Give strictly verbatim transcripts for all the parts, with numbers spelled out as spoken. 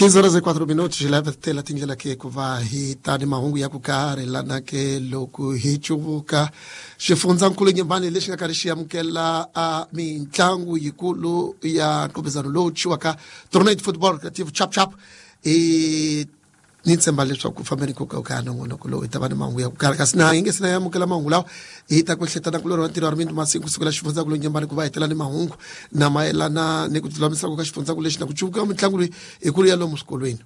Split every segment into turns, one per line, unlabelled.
quinze horas e quatro minutos leva tela tindlela ke ku va hi tani mahungu ya ku karhi lana ke loko hi cuvuka xifundzankulu Nyembani lexi nga karhi xi amukela a mitlangu yikulu ya nqopezano lowu thyiwaka Tournament Football Creative Chap Chap i ni tshemba leswaku fambeni ku ka nongonoko lowu hi ta va ni mahungu ya ku karhi kasi na hi nge se na amukela mahungu lawa hi ta ku hletana kulorhi wa ntirho wa rimindi masiku kusukela xifundzankulu Nyembani ku va hi tela ni mahungu na mayelana ni ku tilulamisaka ka xifundzankulu lexi na ku cuvuka mitlangu leyi hikulu ya lomu swikolweni.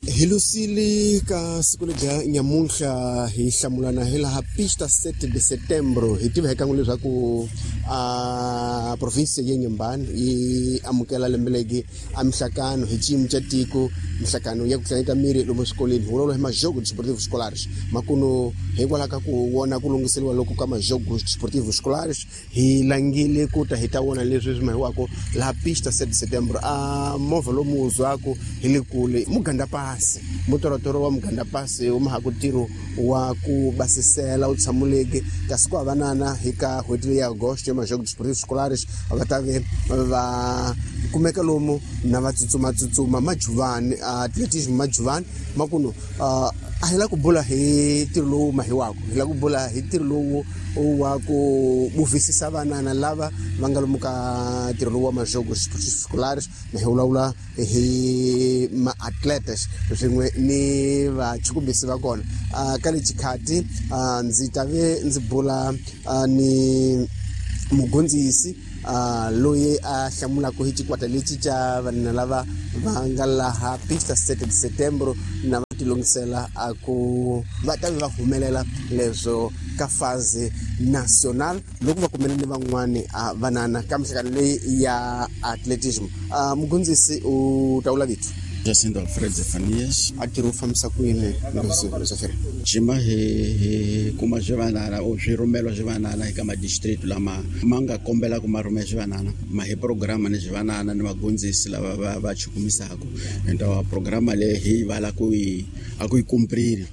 Hi lusile ka siku ledya nyamuntlha hi hlamulana hi laha pista sete de setembro hi tiva hi kan'we leswaku a province ya Nyembani yi amukela lembe legi a mihlakano hi xiyimo xa tiko mihlakano ya ku tlangeta miri lomu swikolweni hi vulavula hi majogo desportivo escolares makuno hikwalaho ka ku vona ku lunghiseriwa loko ka majogo desportivo escolares hi langile ku ta hi ta vona leswi swi mahiwako laha pista sete de setembro a movha lomu wuzwaku hi le kule muganda pasi mutorotoro wa muganda pasi wu mahaku ntirho wa ku basisela wu tshamuleke kasi ku havanana hi ka n'hweti leyi ya agosto ya majogo desportivo escolares va ta ve va kumeka lomu na va tsutsumatsutsuma majuvani atletism majuvani makuno a hi la ku bula hi ntirho lowu mahiwako hi la ku bula hi ntirho lowu wa ku buvisisa vanana lava va nga lomu ka ntirho lowu wa majogo escolares na hi vulavula hi ma-atletes swin'we ni vachukumbisi va kona ka le xikhati ndzi ta ve ndzi bula ni mugondzisi loyi a hlamulaka hi xikwata lexi xa vanhu lava va nga laha pista sete de setembro na va tilungisela a ku va ta va humelela leswo ka phase national loko va kumene ni van'wani vanana ka mihlangano leyi ya atletism. Mugondzisi u ta vula vito?
Jacinto Alfred Zefanias.
A tirhi u fambisa ku yini Zefanias?
Jima hi hi kuma swivanana o swirhumelo swivanana eka madistrict lama ma nga kombela ku ma rhumela swivanana ma hi programa ni swivanana ni vagondzisi lava va va chukumisaka enta programa leyi hi vala ku yi a ku yi kumprili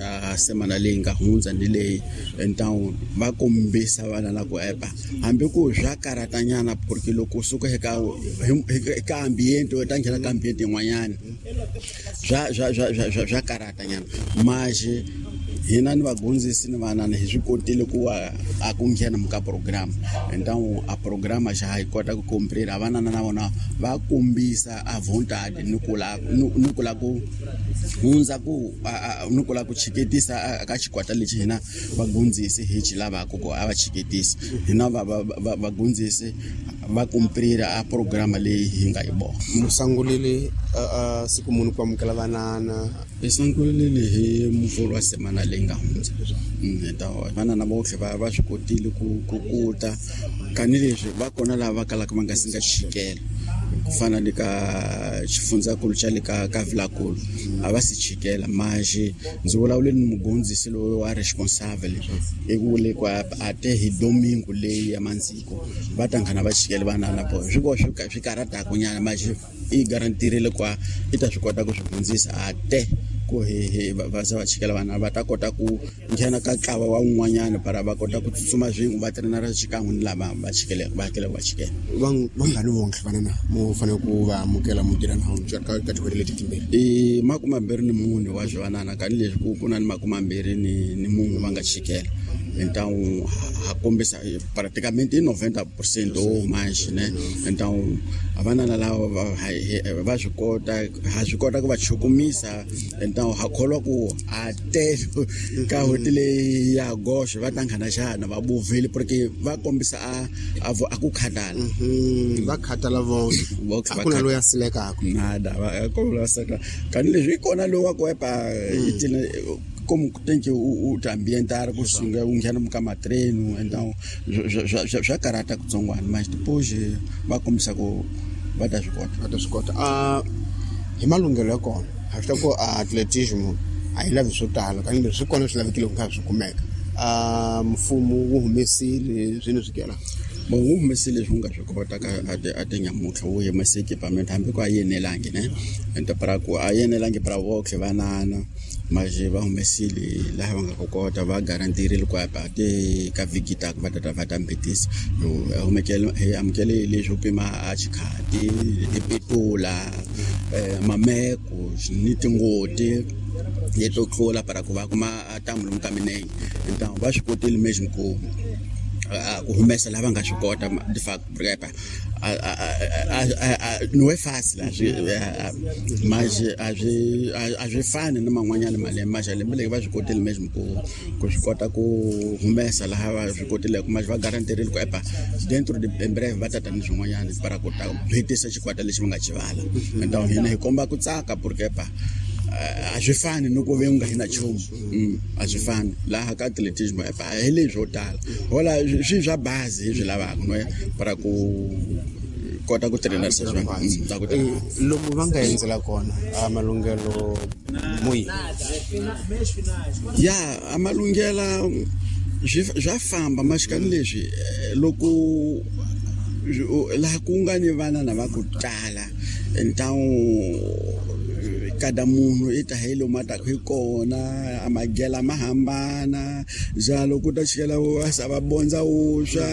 a semana leyi nga hundza ni leyi então va kombisa vana la ku epa hambi ku swa karatanyana porque loko u suka eka eka ambiente u ta nghena ka ambiente yin'wanyana swa swa swa swa swa karatanyana maje hina ni vagondzisi ni vanana hi swi kotile ku a ku nghena muka program então a programa xa hi kota ku komprira vanana na vona va kombisa a vontade ni ku la ni ku la ku hundza ku ni ku la ku chiketisa ka xikwata lexi hina vagondzisi hi xi lavaka ku a va chiketisa hina va va vagondzisi va komprira a programa leyi hi nga yi vona.
Musangulile siku munhu ku amukela vanana
hi sungulile hi muvhulu wa semana leyi nga hundza então vanana votlhe va va swi kotile ku ku kuta kanileswi va kona lava va kalaka va nga si nga chikela ku fana ni ka xifundzankulu xa le ka ka Vilakulu a va si chikela maje ndzi vulavule ni mugondzisi loyi wa responsable i vule ku a te hi domingo leyi ya mandziko va ta nghena va chikela vanana po swi ko swi swi karataku nyana maje i garantirile ku i ta swi kota ku swi hundzisa a te ku hi hi va za va chikela vana va ta kota ku nghena ka ntlawa wa un'wanyana para va kota ku tsutsuma swin'we va trenara xikan'we ni lava va chikeleke va hakelaka va chikela.
Vangani vonke vanana mo fanele ku va amukela mu tirha na ka ka tin'hweti leti timbirhi?
I makume mambirhi ni mune wa swivanana kanileswi ku ku na ni makume mambirhi ni ni munhu va nga chikela então ha kombisa praticamente i noventa por cento ou mais né então vanana lava va swi kota ha swi kota ku va chukumisa então ha kholwa ku a tele ka n'hweti leyi ya goxe va ta nghena xana va buvile porque va kombisa a a ku khatala
va khatala vonke a ku na loyi a silekaka
nada va ko la seka kanileswi i kona loyi wa ku epa i tina como tem que o o ambientar ku sunga u nghena muka matreno então swa karata kutsongwana mas depois va kombisa ku va ta swi kota
va ta swi kota a hi malunghelo ya kona ha swi ta ku atletism a yi lavi swo tala kambe swi kona swi lavekile ku nga swi kumeka a mfumo wu humesile swini swi kela
Bon wu humesile leswi wu nga swi kota ka a ti nyamutlha wu humese equipment hambi ku a yenelangi ne enta para ku a yenelangi para voxe vanana maje va humesile laha va nga ku kota va garantirile ku apa te ka vhiki ta va ta va ta mbetisa humekele hi amukele leswo pima a xikhati tipetula mameko ni tingoti leto tlula para ku va kuma ntamu lomu ka minenge então va swi kotile mesmo ku ku humesa lava nga swi kota de fact porque não é fácil mas a swi fani na man'wanyana malembe mas lembe leri va swi kotile mesmo ku ku swi kota ku humesa laha va swi kotileke mas va garantirile ku epa dentro de em breve va tata ni swin'wanyana para ku ta hetisa xikwata lexi va nga xi vala então hina hi komba ku tsaka porque epa a swi fani ni ku ve u nga hi na nchumu a swi fani laha ka atletismo epa hi leswo tala hola swi swa bazi hi swi lavaka no para ku kota ku trainarisa swona
lomu va nga endzela kona a malunghelo muyi
ya a malunghela swa famba maxikani leswi loko laha ku nga ni vana na va ku tala então kada munhu i ta hi lomu a taka hi kona a magela ma hambana njalo ku ta chikela va sa va bondza vuswa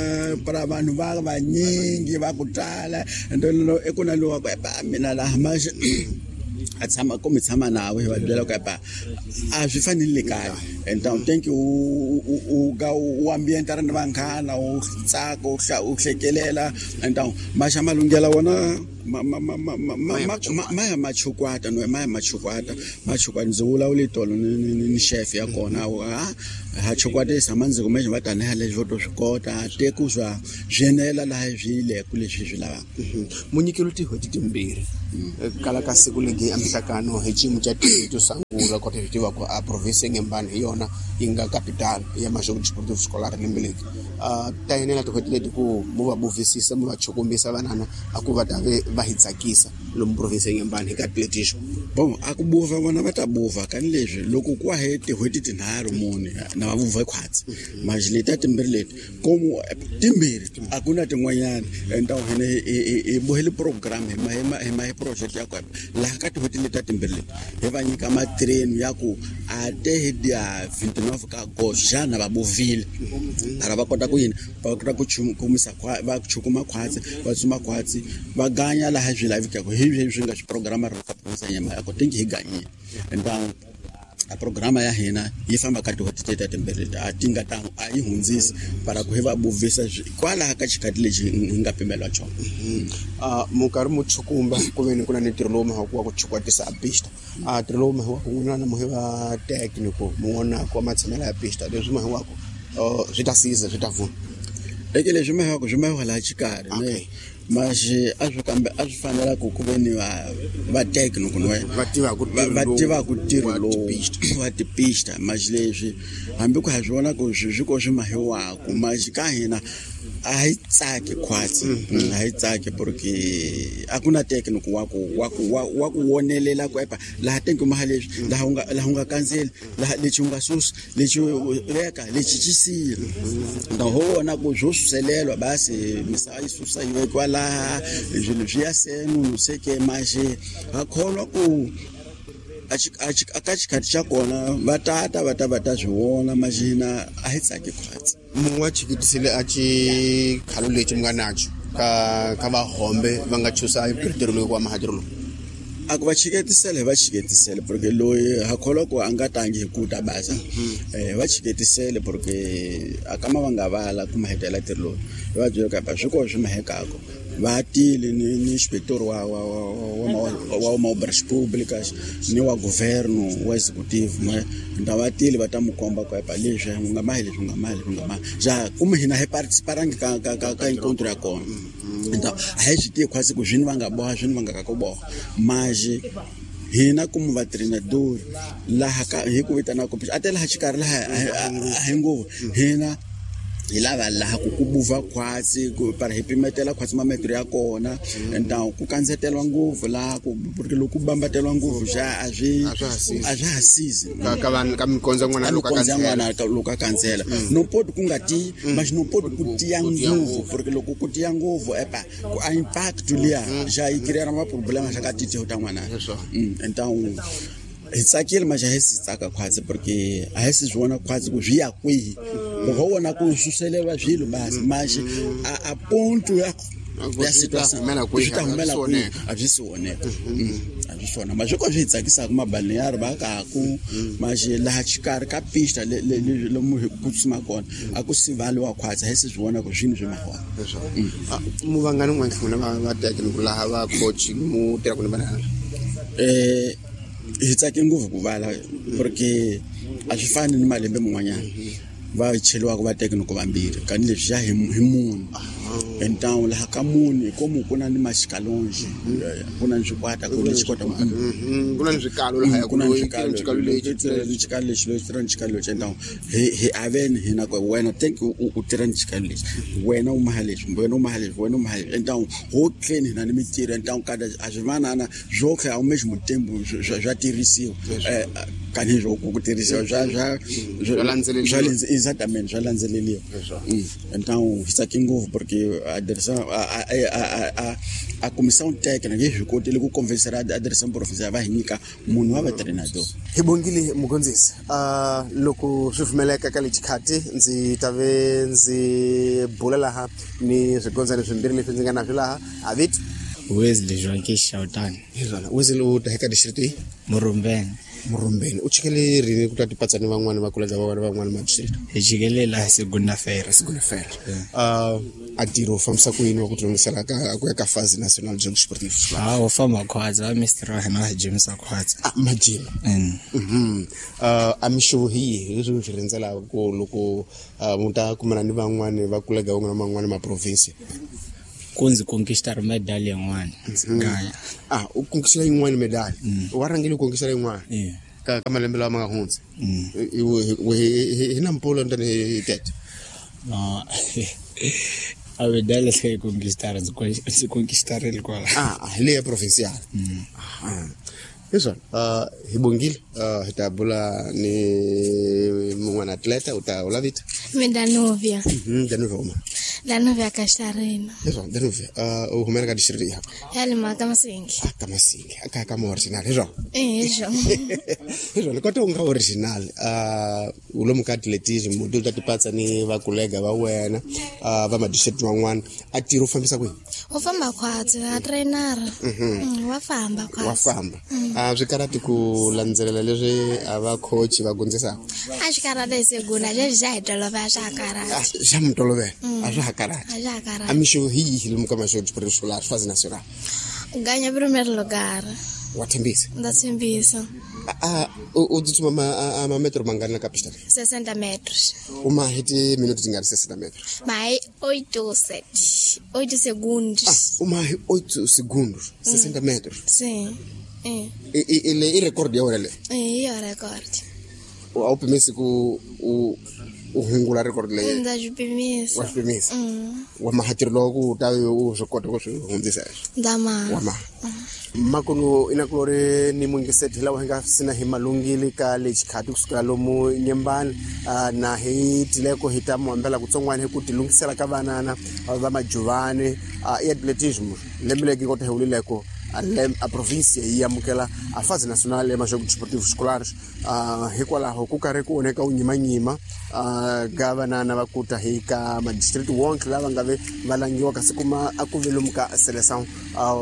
para vanhu va vanyingi va ku tala endo i ku na lowa ku epa mina laha maxe a tshama ku mi tshama nawe hi va byela ku epa a swi fanele le kaya então thank you u ka u ambiente ra ni vanghana u tsaka u u hlekelela então maxa malunghela wona ma ma ma ma ma ma ya machukwata no ma ya machukwata machukwata ndzi vulavule tolo ni ni chef ya kona ha ha chukwatisa mandzi kumbe va tanihi leswi vo to swi kota te ku swa swi enela laha swi yile ku leswi swi lavaka
munyikelo tin'hweti timbirhi kala ka siku legi emihlakano hi xiyimo xa to sungula kota hi tiva ku a province Inhambane hi yona yi nga capital ya Majogo Desportivo Escolar lembe leri ta enela tin'hweti leti ku mu va buvisisa mu va chukumbisa vanana a ku va ta ve va hi tsakisa lomu province Inhambane hi ka atletismo
bon a ku buva vona va ta buva kani leswi loko ku he tin'hweti tinharhu mune na va vuva khwatsi manje leti timbirhi leti komu timbirhi a ku na tin'wanyana então hina hi bohele program hi ma hi ma hi ma hi project ya kona laha ka tin'hweti leti timbirhi leti hi va nyika matrain ya ku a te hi dia vinte e nove ka agosto xana va buvile para va kota ku yini va kota ku kumisa va chukuma khwatsi va tsuma khwatsi va ganya laha swi lavekaka hi leswi nga swi programa ra ka province ya Inhambane ko tingi hi ganyile então a programa ya hina yi famba ka tin'hweti teta timbirhi leti a ti nga ta a yi hundzisi para ku hi va buvisa kwalaha ka xikhati lexi hi nga pimeliwa xona
mu karhi mu chukumba ku ve ni ku na ni ntirho lowu mahaku wa ku chukwatisa a pista a ntirho lowu mahiwaku n'wina na muhi va técnico mu vonaka wa matshamelo ya pista leswi mahiwaku swi ta siza swi ta pfuna
eke leswi mahiwaku swi mahiwa laha xikarhi ne mas a swi kambe a swi fanela ku ku ve ni va va técnico no
va tivaka
va tivaka ntirho lowu wa tipista mas leswi hambi ku ha swi vona ku swi swi ko swi mahiwaku mas ka hina a hi tsaki khwatsi a hi tsaki porque a ku na técnico wa ku wa ku wa ku wonelela ku epa laha tenki maha leswi laha u nga laha u nga kandzeli laha lexi u nga susi lexi veka lexi xi siya então ho vona ku swo suselelwa basi misava yi susa yi vekiwa laha swilo swi ya senu no sei que mas ha kholwa ku a ka xikhathi xa kona va tata va ta va ta swi vona mas hina a hi tsaki khwatsi
munhu wa chikitisile a xikhalo lexi mi nga naxo ka ka vahombe va nga chusa ntirho lowu wa mahatirho lowu
a ku va chiketisele hi va chiketisele porque loyi ha kholwa ku a nga tangi hi ku ta basa eh va chiketisele porque a kama va nga vala ku mahetela ntirho lowu hi va byela ku swi ko swi mahekako va tile ni ni inspector wa wa wa wa wa obras públicas ni wa governo wa executive ma nda va tile va ta mu komba ku epa leswi u nga mahi leswi u nga mahi leswi u nga mahi ja kumbe hina hi participarangi ka ka ka ka encontro ya kona então a hi swi tivi khwatsi ku swini va nga boha swini va nga ka ku boha mas hina como va treinador laha ka hi ku vitana ku a te laha xikarhi laha a hi ngopfu hina Hi lava laha ku ku buva khwatsi ku para hi pimetela khwatsi mametro ya kona então ku kandzetelwa ngopfu laha ku porque loko ku bambateliwa ngopfu xa a swi a swa ha sizi
ka ka vanhu ka mikondzo n'wana loko
ka n'wana loko a kandzela no poti ku nga ti mas no poti ku tiya ngopfu porque loko ku tiya ngopfu epa ku a impact liya xa yi create ma problema xa ka titiho ta n'wana. Então hi tsakile mas a hi si tsaka khwatsi porque a hi si swi vona khwatsi ku swi ya kwihi loko ho vona ku suseleriwa swilo basi mas a ponto ya ya situação swi ta humela kwihi a byi si voneka a byi swona mas swi ko swi hi tsakisaka mabalneário va kaku mas laha xikarhi ka pista lomu hi ku tsutsuma kona a ku sivaliwa khwatsi a hi si swi vona ku swini swi mahona.
Mu vangani n'wana n'wina va va teka laha va coach mu tirhaka ni vanana
eh hi tsake ngopfu ku vala porque a swi fani ni malembe man'wanyana va cheliwaka va tecnico vambirhi kani leswi xa hi munhu então laha ka munhu hi komu ku na ni maxikalonji ku na ni swikwata ku ni xikwata
ku na ni swikalo laha
ku na ni swikalo xikalo lexi ni xikalo lexi lexi tirha ni xikalo lexi então hi hi aveni hina ku wena thank you u tirha ni xikalo lexi wena u maha leswi wena u maha leswi wena u maha leswi então ho clean hina ni mitirho então kada a swi vanana swo tlhela ao mesmo tempo swa tirhisiwa kani swo ku tirhisiwa swa swa swa exatamente swa landzeleriwa. Então hi tsake ngopfu porque a direção a a a a comissão técnica yi swi kotile ku convencer a direção provincial va hi nyika munhu wa vatreinador.
Hi bongile mugondzisi uh loko swi pfumeleka ka lexi ndzi ta ve ndzi bula laha ni swigondzani swimbirhi leswi ndzi nga na swi laha avit
Wesley Joaquim Shautani.
Hi Wesley u ta eka district yi
Murumbeni.
Murumbeni u chikele rini ku ta tipatsani van'wana va kolega va van'wana ma district?
Hi chikele laha segunda feira.
Segunda feira. Uh a tiro fambisa ku yini wa ku tilungisela ka ku ya ka phase national de jogos esportivos?
Ah, u famba khwatsi va mister wa hina wa gym sa khwatsi.
Ah, ma gym. Mhm. Uh a mixo hi leswi swi rhendzelaka ku loko mu ta kumana ni van'wana va kolega van'wana van'wana ma province.
Ku ndzi conquistar medal yin'wana gaya.
Ah, u conquistar yin'wana medal. Wa rhangile u conquistar yin'wana. Ka ka malembe lawa ma nga hundza. Hi na mpolo ndani hi tete.
No. A medal leyi conquistar ndzi conquistarile kwala.
Ah, hi leya provincial. Ah. Hiswona uh hi bongile uh hi ta bula ni mun'wana atleta u ta u lavita.
Mina Danuvia.
Mhm, Danuvia uma.
Danuvia Castarina.
Hiswona Danuvia uh u humela ka district ya.
Ya le ka Masingi.
Ah, ka Masingi. Aka ka original hiswona.
Eh, hiswona.
Hiswona kota u nga original uh u lomu ka atletism u ta tipatsa ni va kolega va wena uh va ma district van'wana a tiro fambisa kwihi?
U famba khwatsi a trainer.
Mhm.
Wa famba khwatsi.
Wa famba. A swi karhati ku landzelela leswi a va coach va gondzisaka?
A swi karhati hi segunda leswi xa hi tolovela swa ha karhati.
Xa mi tolovela a swa ha karhati.
A swa ha karhati.
A mixo hi yihi lomu ka maxo escolar fase nacional?
Ganha primeiro lugar.
Wa tshembisa?
Ndza tshembisa.
A u tsutsuma ma ma metro mangani la ka pista?
sessenta metros.
U ma hi timinuti tingani sessenta metros?
Ma hi oito sete, oito segundos.
Ah, u ma hi oito segundos, sessenta metros.
Sim.
E e le i record ya wena le?
Eh, i record.
A wu pimisi ku u u hungula record leyi?
Ndza swi pimisa.
Wa swi pimisa? Wa mahatiro loko ku ta u swi kota ku swi hundzisa leswi?
Ndza maha.
Wa maha. Makuno inakulori ni mungiseti lawa hi nga sina hi malungile ka lexi khati kusukela lomu Nyembani na hi tileko hi ta muhambela kutsongwana hi ku tilungisela ka vanana va majuvani i atletism lembe leki kota hi wulileko a província yi amukela a fase nacional ya majogos desportivos escolares hikwalaho ku karhi ku onheka u nyimanyima ka vanana va kuta hi ka madistrict wonke lava nga ve va langiwa kasi kuma a ku ve lomu ka seleção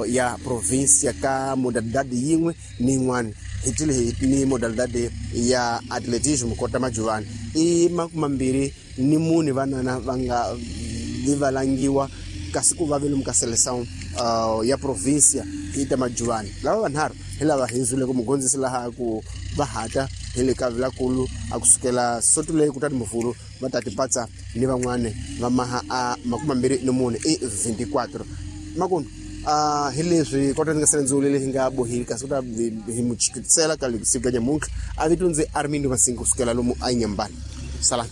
ya província ka modalidade yin'we ni yin'wana hi tile hi ni modalidade ya atletism kota majuvani i makumambirhi ni mune vanana va nga vi va langiwa kasi ku va ve lomu ka seleção uh, ya província hi ta majuvani lava vanharhu hi lava hi zwile ku mugondzisi laha ku va hata hi le ka vilakulu a kusukela soto leyi kutani muvhulu va ta tipatsa ni van'wana va maha a makumambirhi ni mune i veintiquatro makunu uh, hi leswi kota ndzi nga sele ndzulu leyi nga bohile kasi ku ta hi muchikisela ka siku ka nyamuntlha a vito ndzi Armindo Masingi kusukela lomu a Nyembani salani.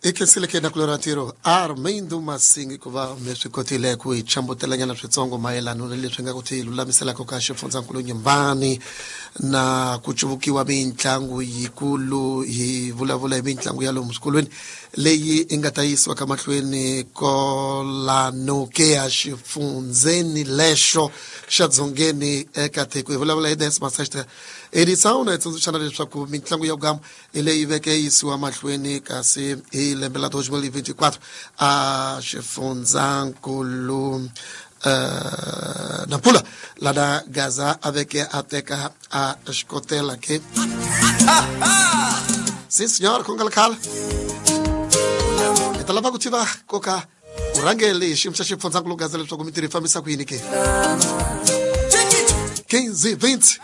I khensile ke nakulorha ntirho Armindo Masingi ku va mi swi kotile ku hi chambutelanyana switsongo mayelana na leswi nga ku ti lulamiselaka ka xifundzankulu Nyumbani na ku cuvukiwa mitlangu yikulu. Hi vulavula hi mitlangu ya lomu swikolweni leyi i nga ta yisiwa ka mahlweni kolano ke ya xifundzeni lexo xa dzongeni eka tiko. Hi vulavula hi Dance Master Edição na hi tsundzuxana leswaku mitlangu ya gama hi leyi veke yisiwa mahlweni kasi hi lembe la dois mil e vinte e quatro a xifundzankulu uh, Nampula lana Gaza a veke a teka a xikotela ke. Sim senhor, ku nga ri khale hi ta lava ku tiva koka urhangeli hi xiyimo xa xifundzankulu Gaza leswaku mintirho yi fambisa ku yini ke. quinze vinte.